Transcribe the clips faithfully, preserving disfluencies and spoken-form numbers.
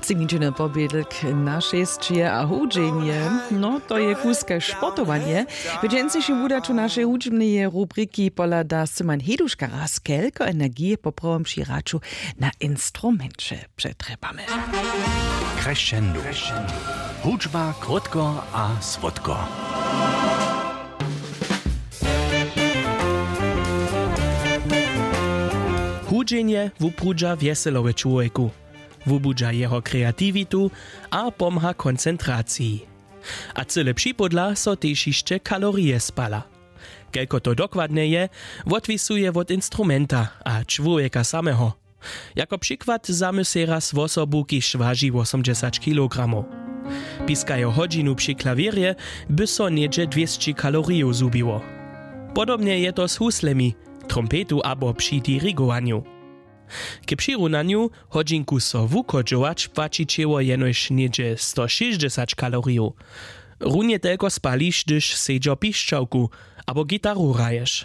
Simičiny pobědlk na šesće a hudźenje. No to je kuske sportowanje. W dźensnišim wudaću našej hudźbneje rubriki pohlada syman heduška raz kelko energije poprawom při hraću na instrumenće přetrjebamy. Crescendo. Hudźba krótko a słodko. Hudźenje wuprudźa wjeselowe čłowjeku. Wubudźa jeho kreatiwitu a pomha koncentraciji. A cyle připodla so tež hišće kalorije spala. Kelko to dokładnje je, wotwisuje wot instrumenta a čłowjeka sameho. Jako přikład zamysle raz wosobu kiž waži wosomdźesać kilogramow. Piskajo hodźinu při klawěrje, by so něhdźe dwěsći kalorijow zhubiło. Podobnje je to z huslemi, trompetu abo při dirigowanju. K přirunanju, hodźinku so wuchodźować płaći ćěło jenož něhdźe stošěsćdźesać kalorijow. Runje telko spališ hdyž sedźo pišćałku abo gitaru hraješ.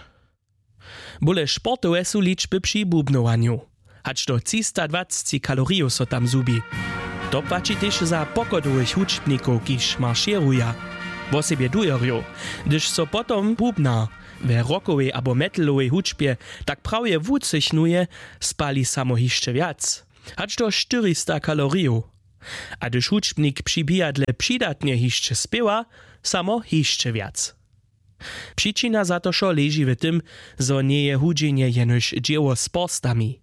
Bóle sportowe su ličby při bubnowanju. Hač do třista dwacci kalorijow so tam zhubi. To płaći tež za pochodowych hudźbnikow kiž maršěruja, wosebje dujerjow. Hdyž so potom bubnar we rockowej abo metalowej hudźbje tak prawje wucychnuje, spali samo hišće wjac, hač do štyrista kalorijow. A hdyž hudźbnik při bihadle přidatnje hišće spěwa, samo hišće wjac. Přičina za to wšo leži w tym, zo njeje hudźenje jenož dźěło z porstami.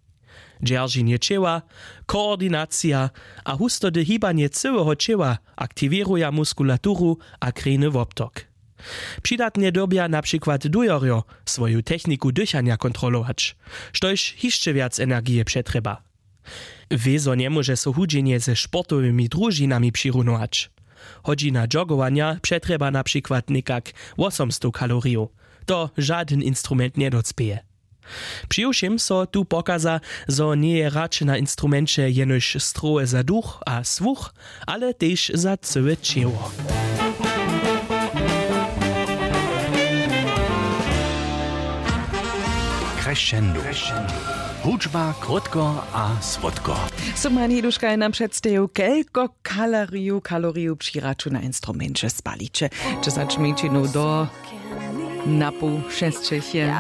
Dźerženje ćěła, koordinacija a hustody hibanje cyłeho ćěła aktiwěruja muskulaturu a krejny wobtok. Přidatnje dyrbja na přikład dujerjo swoju techniku dychanja kontrolować, štož hišće wjac energije přetrjeba. Wězo njemóže so hudźenje ze sportowymi družinami přirunować. Hodźina joggowanja přetrjeba na přikład někak wosomstow kalorijow. To žadyn instrument njedocpěje. Přiwšěm so tu pokaza, zo njeje hrać na instrumenće jenož strowe za duch a słuch, ale tež za cyłe ćěło. Crescendo. Hudźba krótko a słodko. Syman hiduška je nam předstajił kelko kaloriju kaloriju při hraću na instrumenće spaliće. Dźesać minutinow do napoł šesćich je.